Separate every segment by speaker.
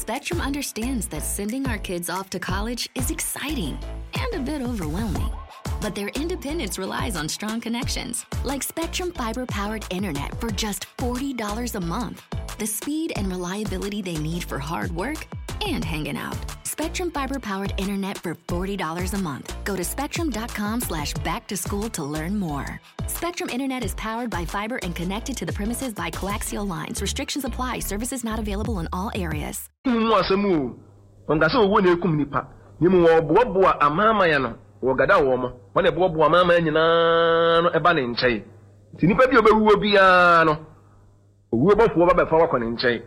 Speaker 1: Spectrum understands that sending our kids off to college is exciting and a bit overwhelming. But their independence relies on strong connections, like Spectrum Fiber powered internet for just $40 a month. The speed and reliability they need for hard work and hanging out. Spectrum Fiber powered internet for $40 a month. Go to spectrum.com/back to school to learn more. Spectrum Internet is powered by fiber and connected to the premises by coaxial lines. Restrictions apply. Services not available in all areas.
Speaker 2: Mu asɛm o, wɔnka sɛ owuo na ekum nipa, na emu wɔboaboa amanaman no, wɔgada wɔn mo, wɔn na ɛboaboa amanaman nyinaa no ɛba ne nkyɛn. Nti nipa bi a ɔbɛwuo biara no, owuo bɔfoɔ ba bɛfa wakɔ ne nkyɛn.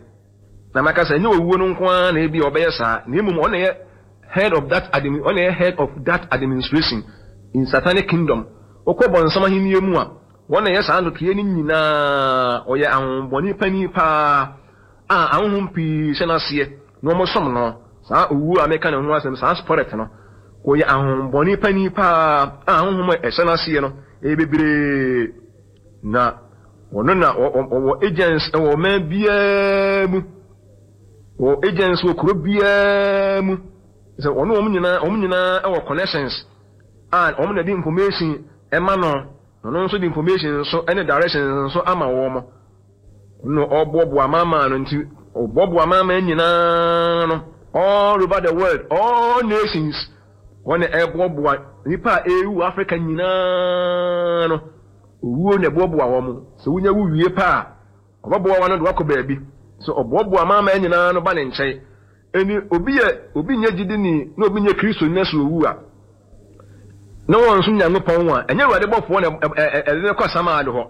Speaker 2: Na maka sɛ ɛnyɛ owuo no nko ara na ebi a ɔbɛyɛ saa, na emom ɔna yɛ head of that administration in satanic kingdom. Wokɔ bɔnsam ahenni mu a, wɔn na yɛ saa ntotoeɛ no nyinaa. Ɔyɛ ahombɔne panin paa a ahohom pii hyɛ n'aseɛ na wɔn som no. Saa owuo a meka ne ho asɛm, saa spirit no, ɔyɛ ahombɔne panin paa a ahohom a ɛhyɛ n'aseɛ no ɛyɛ bebree, na ɔno na ɔwɔ agents wɔ ɔman biara mu, wɔ agents wɔ kuro biara mu, sɛ ɔno wɔn nyinaa wɔ connections a wɔn na de information ɛma no. Ɔno nso de information nso ɛne directions nso ama wɔn no. Ɔboaboa amanaman no, nti ɔboaboa amanaman nyinaa no all over the world, all nations. Wɔn na ɛboaboa nipa a ɛrewu Africa nyinaa no. Owuo na ɛboaboa wɔn sɛ wonya wu wie paa, ɔbɛboa wɔn no de wakɔ baabi so. Ɔboaboa amanaman nyinaa no ba ne nkyɛn. Ɛni obi yɛ obi nyɛ gyidini na obi nyɛ Kristo nyɛ so owu a, na wɔn nso Nyankopɔn a ɛnyɛ Awurade bɔfoɔ na ɛde ne kɔ asamado hɔ,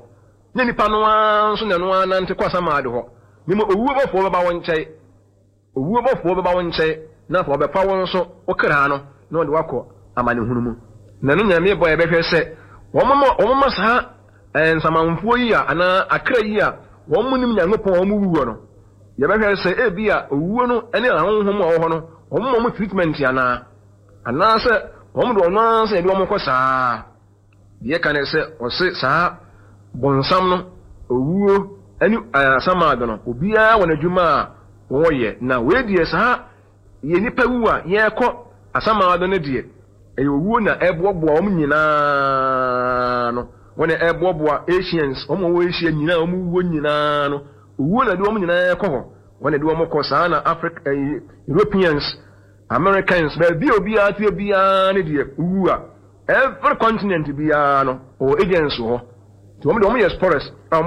Speaker 2: nye nipa no ara nso na ɛno ara nante kɔ asamado hɔ. Ne mu owuo bɔfoɔ bɛba wɔn nkyɛn, owuo bɔfoɔ bɛba wɔn nkyɛn, na afɔ ɔbɛfa wɔn nso wokra no na wɔde wakɔ amanehunu mu. Na ɛno Nyame bɔ yɛbɛhwɛ sɛ wɔn ma saa nsamanfoɔ yi a anaa akra yi a wɔn mu nim Nyankopɔn a wɔn wu wɔ no, yɛbɛhwɛ sɛ ebi a owuo no ne ahonhom a wɔwɔ hɔ no, wɔn ma wɔn treatment anaa, anaasɛ wɔn de ɔno ara sɛ yɛde wɔn kɔ saa. Deɛ ka ne sɛ ɔse saa bɔnsam no, owuo ne asamado no, obiara wɔ n'adwuma a wɔyɛ. Na wei deɛ, saa yɛ nipa wu a yɛrekɔ asamado no deɛ, ɛyɛ owuo na ɛboaboa wɔn nyinaa no. Wɔn na ɛboaboa Asians, wɔn a wɔwɔ Asia nyinaa, wɔn wuo nyinaa no, owuo na de wɔn nyinaa kɔ hɔ. Wɔn na de wɔn kɔ saa. Na Africa, ɛyi, Europeans, Americans, baabi a obiara te biara ne deɛ wu a, every continent biara no, ɔwɔ agents wɔ hɔ. Nti wɔn de wɔn yɛ spirits a wɔn